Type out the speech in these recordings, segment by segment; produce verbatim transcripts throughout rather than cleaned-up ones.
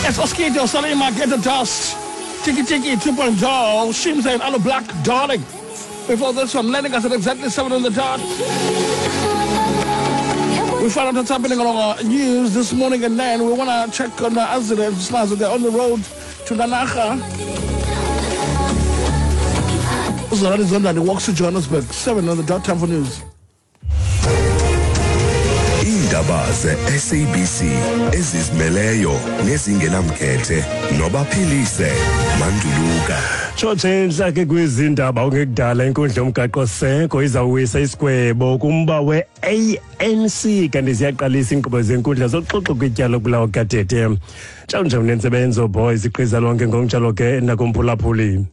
It's Oskido, Salima, Get the Dust, Tiki Tiki two point oh, Shimza and Aloe Blacc, Darling. Before this one, landing us at exactly seven on the dot. We found out what's happening on our news this morning at nine. We want to check on the accidents. They're on the road to Nanaga. Zondani walks to Johannesburg. Seven on the dot, time for news. Iindaba ze-S A B C ezizimeleyo nezingenamkhethe nobaphilise Manduluka. Tshotshe entlake kwizindaba, ungekudala inkundla yomgaqo-seko izawuwisa isigwebo kumba we-A N C, kanti ziyaqalisa iinkqubo zenkundla zoxoxo kwityala lokubulawa kukaTete. Ntshawunje unentsebenzo boys iqiza lonke ngokunjalo ke nakumphulaphuli.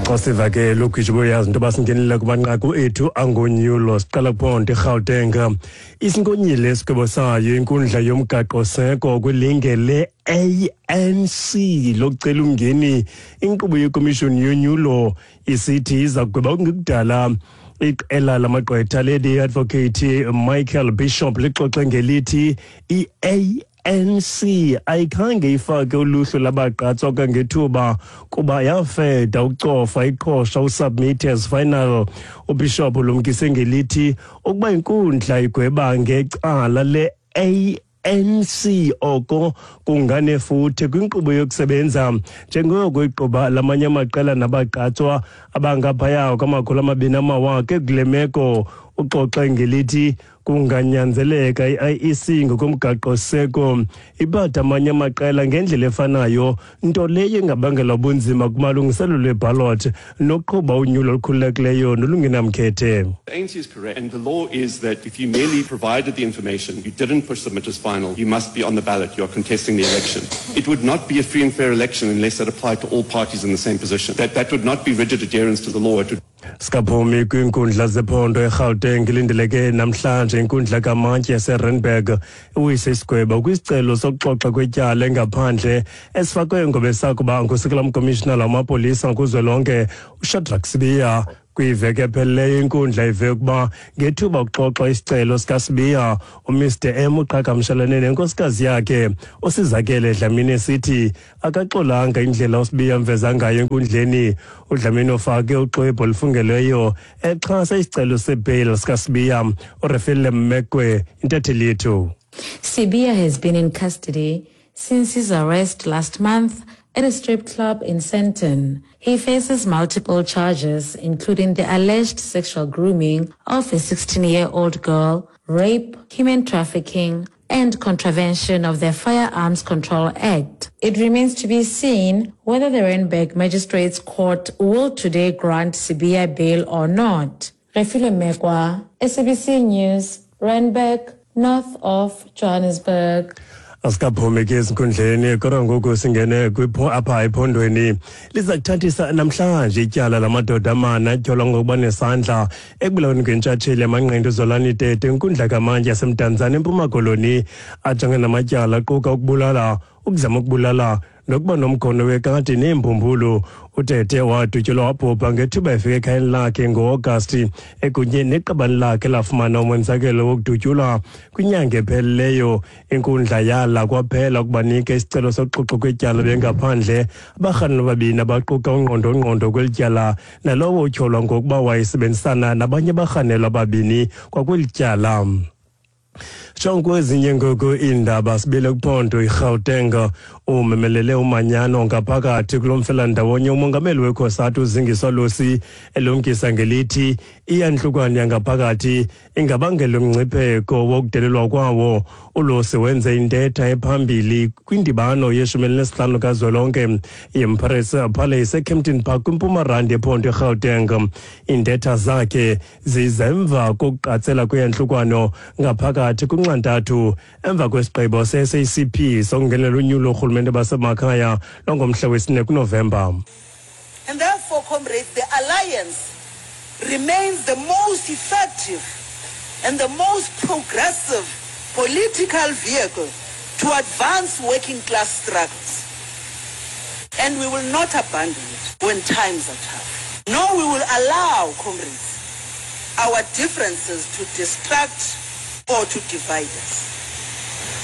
Xa siva ke lugwitsho boyazi into yoba singenile kumanqaku ethu angonyulo. Siqala kuphondo iRhawuteng. Isinkonyile isigwebo sayo inkundla yomgaqo-seko kwilinge le-A N C lokucela umngeni inkqubo yekomishoni yonyulo, isithi iza kugweba kungekudala. Iqela lamagqwetha lady advocate Michael Bishop lixoxe ngelithi i-A N C ayikhange ifake uluhlu labagqatswa kwangethuba kuba yafeda ukucofa iqhosha usubmit as final. UBishop ulumkise ngelithi ukuba inkundla igweba ngecala le-A N C, oko kunganefuthe kwinkqubo yokusebenza njengoko igquba lamanye amaqela nabagqatswa abangaphaya kwamakhulu amabini amawaka. Kule meko uxoxe ngelithi kunganyanzeleka i-I E C ngokomgaqo-seko ibhatha amanye amaqela ngendlela efanayo, nto leyo ingabangela ubunzima kumalungiselelo eballot nokuqhuba unyulo olukhululekileyo nolungenamkhethe. The A N C is correct, and the law is that if you merely provided the information, you didn't push submit as final, you must be on the ballot, you are contesting the election. It would not be a free and fair election unless that applied to all parties in the same position. That, that would not be rigid adherence to the law. It would Sikaphumi kwiinkundla zephondo eGauteng, ilindeleke namhlanje inkundla kamantyi yaseRandburg iwise isigwebo kwisicelo sokuxoxa kwetyala engaphandle esifakwe ngobesakuba ngusekela mkomishinala wamapolisa kuzwelonke uShadrack Sibiya. Kwiveki ephelileyo inkundla ive ukuba ngethuba kuxoxwa isicelo sikaSibiya, uMr M uqhagamshelane nenkosikazi yakhe uSizakele Dlamini esithi akaxolanga indlela uSibiya amveza ngayo enkundleni. UDlamini ufake uxwebhu olufungelweyo exhasa isicelo sebheyile sikaSibiya. URefile Mmekwe, intatheli yethu. Sibiya has been in custody since his arrest last month at a strip club in Sandton. He faces multiple charges, including the alleged sexual grooming of a sixteen-year-old girl, rape, human trafficking, and contravention of the Firearms Control Act. It remains to be seen whether the Randburg Magistrates Court will today grant Sibiya bail or not. Refile Mekwa, S A B C News, Randburg, north of Johannesburg. Asikaphumi ke ezinkundleni, kodwa ngoku singene kwipho apha ephondweni. Liza kuthathisa namhlanje ityala lamadoda amane atyholwa ngokuba nesandla ekubulaweni kwentshatsheli yamanqindi uZolani Tete inkundla kamantyi yaseMdantsane eMpuma Koloni. Ajonge namatyala aquka ukubulala, ukuzama ukubulala nokuba nomkhono wekati neembumbulu. UTete wadutyulwa wabhubha ngethuba efika ekhayeni lakhe ngo-Agasti ekunye neqabane lakhe lafumana umonzakelo wokudutyulwa kwinyanga ephelileyo. Inkundla yala kwaphela ukubanika isicelo sokuxoxwa kwetyala bengaphandle abarhanelwa ababini abaquka ungqondo-ngqondo kweli tyala nalowo utyholwa ngokuba wayesebenzisana nabanye abarhanelwa ababini kwakweli tyala. Jonke kwezinye ngoku iindaba, sibile kuphondo iRhawuteng. Umemelele umanyano ngaphakathi kulo mfelandawonye umongameli weCOSATU uZingiswa Losi, elumkisa ngelithi iyantlukwane yangaphakathi ingabangela umngcipheko wokudelelwa kwawo. ULosi wenze intetha ephambili kwindibano yeshumi elinesihlanu kazwelonke yeEmpress Palace eKempton Park kwiMpuma Rand yephondo iRhawuteng. Iintetha zakhe ziza emva kokuqatsela kweyantlukano ngaphakathi kunxantathu emva kwesigqibo se-S A C P sokungenela unyulo orhulumente basemakhaya lwangomhla wesine kuNovemba. And therefore, comrades, the alliance remains the most effective and the most progressive political vehicle to advance working class struggles. And we will not abandon it when times are tough. Nor we will allow, comrades, our differences to distract or to divide us.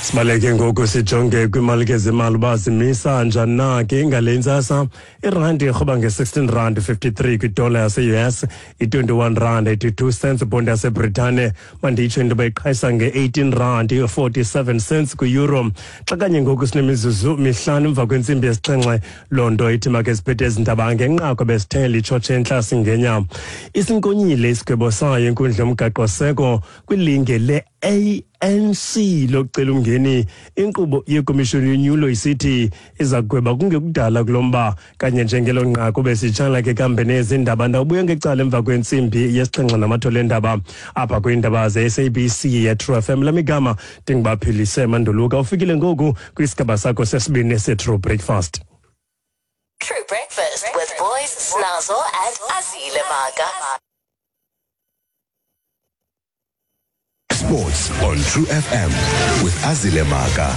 Sibaleke ngoku sijonge kwiimali ke zemali uba zimisa njani na ke ngale ntsasa. Irandi irhoba nge-sixteen rand fifty-three kwidola yase-U S, i-twenty-one rand eighty-two cents ibhondi yaseBritane. Manditsho into yoba iqhayisa nge-eighteen rand forty-seven cents kwi-euro. Xa kanye ngoku sinemizuzu mihlanu emva kwentsimbi yesixhenxe, loo nto ithi make siphethe ezi ndaba ngenqaku besithe litshotshe entlasi ngenya. Isinkonyile isigwebo sayo inkundla yomgaqoseko kwilinge le-A N C lokucela umngeni inkqubo yekomishoni yonyulo, isithi iza kugweba kungekudala kulo mba. Kanye njengelo nqaku besitshala ke kambe nezi ndaba, ndawubuya ngecala emva kwentsimbi yesixhenxe namathole endaba apha kwiindaba ze-S A B C ye-True F M. Lamigama ndinguBaphilise Manduluka. Ufikile ngoku kwisigaba sakho sesibini se-True Breakfast. True Breakfast with Boys, Snazo, and Azile Maga. Sports on True F M with Azile Maga.